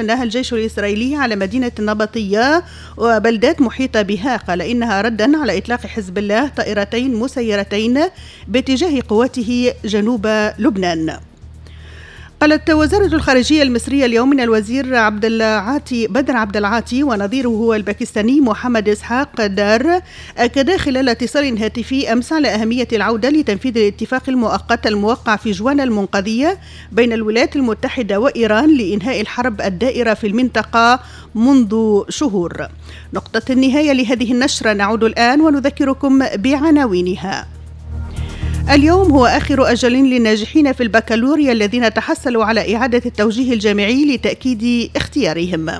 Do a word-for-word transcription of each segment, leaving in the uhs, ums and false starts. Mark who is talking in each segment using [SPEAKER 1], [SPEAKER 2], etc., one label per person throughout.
[SPEAKER 1] شنها الجيش الإسرائيلي على مدينة النبطية وبلدات محيطة بها. قال إنها ردا على إطلاق حزب الله طائرتين مسيرتين باتجاه قواته جنوب لبنان. قالت وزارة الخارجية المصرية اليوم إن الوزير عبد العاطي بدر عبد العاطي ونظيره الباكستاني محمد إسحاق دار أكدا خلال اتصال هاتفي أمس على أهمية العودة لتنفيذ الاتفاق المؤقت الموقع في جوان المنقضية بين الولايات المتحدة وإيران لإنهاء الحرب الدائرة في المنطقة منذ شهور. نقطة النهاية لهذه النشرة، نعود الآن ونذكركم بعناوينها. اليوم هو آخر أجل للناجحين في البكالوريا الذين تحصلوا على إعادة التوجيه الجامعي لتأكيد اختيارهم.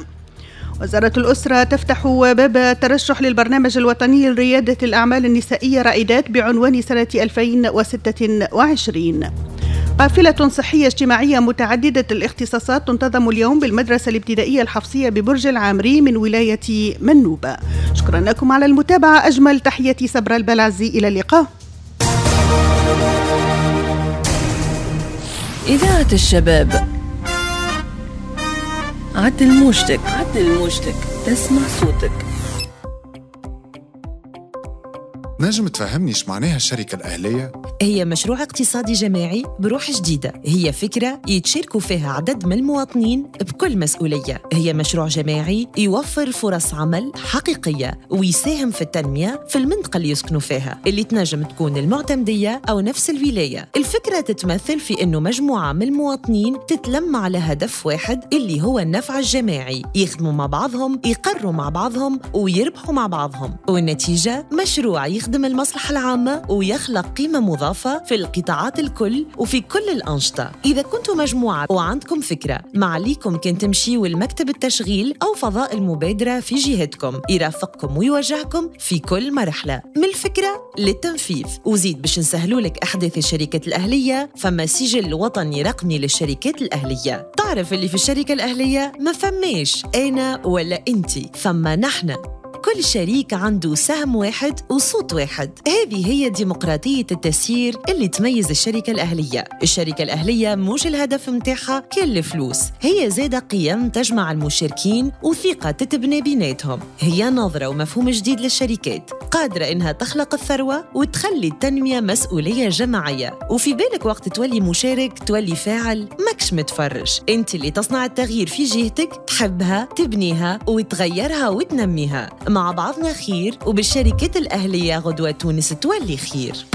[SPEAKER 1] وزارة الأسرة تفتح باب الترشح للبرنامج الوطني لريادة الأعمال النسائية رائدات بعنوان سنة ألفين وستة وعشرين. قافلة صحية اجتماعية متعددة الاختصاصات تنتظم اليوم بالمدرسة الابتدائية الحفصية ببرج العامري من ولاية منوبة. شكرا لكم على المتابعة، أجمل تحياتي صبرا البلعزي، إلى اللقاء.
[SPEAKER 2] إذاعة الشباب، عدل موجتك، عدل موجتك، تسمع صوتك.
[SPEAKER 3] نجم تفهمني ايش معناها الشركة الأهلية؟
[SPEAKER 4] هي مشروع اقتصادي جماعي بروح جديدة، هي فكرة يتشاركوا فيها عدد من المواطنين بكل مسؤولية، هي مشروع جماعي يوفر فرص عمل حقيقية ويساهم في التنمية في المنطقة اللي يسكنوا فيها، اللي تنجم تكون المعتمدية أو نفس الولاية. الفكرة تتمثل في أنه مجموعة من المواطنين تتلم على هدف واحد اللي هو النفع الجماعي، يخدموا مع بعضهم، يقروا مع بعضهم، ويربحوا مع بعضهم، والنتيجة مشروع يخدم المصلحة العامة ويخلق قيمة مضافة في القطاعات الكل وفي كل الأنشطة. إذا كنتوا مجموعة وعندكم فكرة، ما عليكم كان تمشيوا لمكتب التشغيل أو فضاء المبادرة في جهتكم، يرافقكم ويوجهكم في كل مرحلة من الفكرة للتنفيذ. وزيد باش نسهلوا لك أحداث الشركات الأهلية، فما سجل وطني رقمي للشركات الأهلية. تعرف اللي في الشركة الأهلية ما فماش أنا ولا أنتي، فما نحن. كل شريك عنده سهم واحد وصوت واحد. هذه هي ديمقراطية التسيير اللي تميز الشركة الأهلية. الشركة الأهلية مش الهدف متاعها كل الفلوس، هي زادة قيم تجمع المشاركين وثقة تتبنى بيناتهم. هي نظرة ومفهوم جديد للشركات، قادرة إنها تخلق الثروة وتخلي التنمية مسؤولية جماعية. وفي بالك وقت تولي مشارك تولي فاعل، ماكش متفرج، انت اللي تصنع التغيير في جهتك، تحبها، تبنيها وتغيرها وتنميها. مع بعضنا خير، وبالشركات الأهلية غدوة تونس تولي خير.